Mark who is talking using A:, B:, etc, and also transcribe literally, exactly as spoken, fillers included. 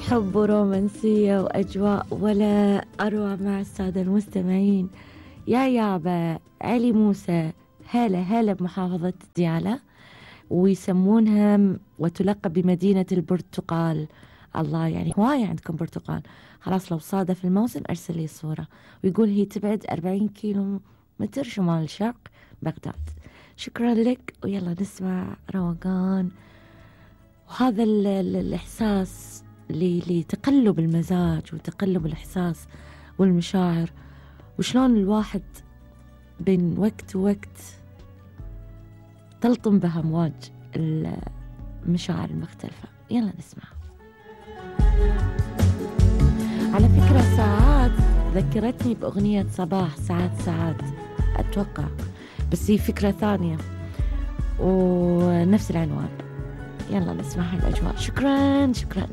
A: حب ورومانسية وأجواء ولا أروع مع السادة المستمعين. يا يابا علي موسى، هلا هلا بمحافظة ديالى، ويسمونها وتلقب بمدينة البرتقال. الله، يعني هواية عندكم برتقال. خلاص لو صادف الموسم أرسل لي صورة. ويقول هي تبعد أربعين كيلو متر شمال الشرق بغداد. شكرا لك، ويلا نسمع روقان. وهذا ال ال الإحساس لتقلب المزاج وتقلب الإحساس والمشاعر، وشلون الواحد بين وقت ووقت تلطم بها أمواج المشاعر المختلفة. يلا نسمع. على فكرة ساعات ذكرتني بأغنية صباح، ساعات ساعات أتوقع، بس هي فكرة ثانية ونفس العنوان. يلا نسمع الأجواء. شكرا شكرا.